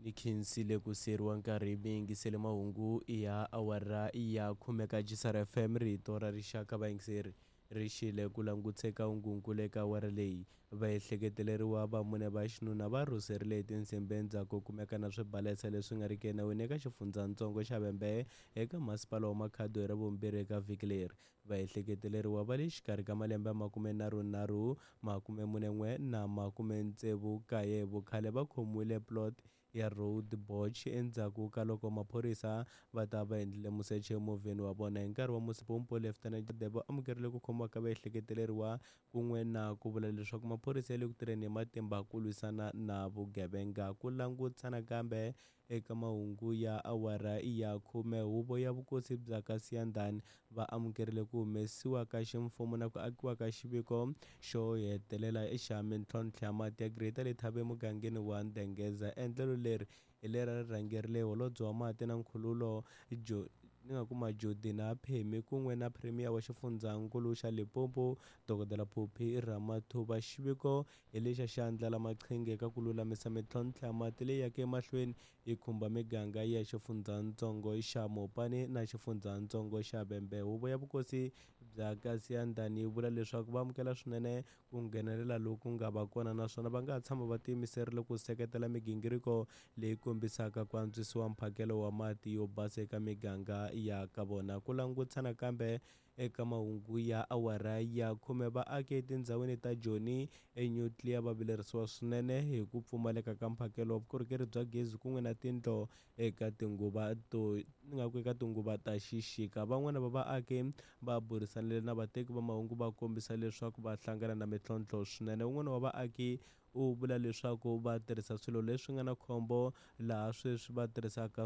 Ni khensile ku siyeriwa nkarhi mi yingisele mahungu ya awara ya khume ka Jisara FM rito ra rixaka vayingiseri ri xile ku langutse ka hungunkulu eka awara leyi. Vaehleketeleriwa va mune va xinuna va rhuserile hi tinsimbhi endzhaku ko kumeka na swibalesa leswi nga riki enawini eka xifundzatsongo xa Vhembe eka masipala wa Makhado hi Ravumbirhi eka vhiki leri. Vaehleketeleriwa va le xikarhi ka malembe ya 33, 41 na 69 hi vukhale va khomiwile plot ya Road Boch endzhaku ka loko maphorisa va ta va endlile musecho emovheni wa vona hi nkarhi wa musipompo. Lieutenant Debo amukerile ku khomiwa ka vaehleketeleriwa kun'we na ku vula leswaku maphorisa ya le ku tirheni hi matimba ku lwisana na vugevenga. Ku langutana kambe eka mahungu ya awara ya khume, huvo ya vukosi bya ka Siyandhani va amukerile ku humesiwa ka ximfumo na ku akiwa ka xiviko xo hetelela xa mintlhontlho ya mati ya Greater Letaba emugangeni wa Ndengeza. Endlelo leri hi leri a ri rhangerile holobye wa mati na nkhululo jo ni nga kuma Jodi na Phemi kun'we na Premier wa xifundzankulu xa Limpopo Dokodela Phophi Ramathuba. Xiviko hi lexa xi andlala maqhinga eka ku lulamisa mintlhontlho ya mati leyi yaka emahlweni yi khumba miganga ya xifundzatsongo xa Mopani na xifundzatsongo xa Vhembe. Huvo ya vukosi bya ka Siyandhani yi vula leswaku va amukela swinene ku nghenelela loku nga va kona naswona va nga tshama va tiyimiserile ku seketela migingiriko leyi kombisaka ku antswisiwa mphakelo wa mati yo basa eka miganga ya ka vona. Ku langutana kambe eka mahungu ya awara ya khume, vaaki etindhawini ta Joni eNuclear va vilerisiwa swinene hi ku pfumaleka ka mphakelo wa vukorhokeri bya gezi kun'we na tindlo eka tinguva to ni nga ku eka tinguva ta xixika. Van'wana va vaaki va burisanile na vateki va mahungu va kombisa leswaku va hlangana na mintlhontlho swinene. Un'wana wa vaaki u vula leswaku va tirhisa swilo leswi nga na khombo laha sweswi va tirhisaka.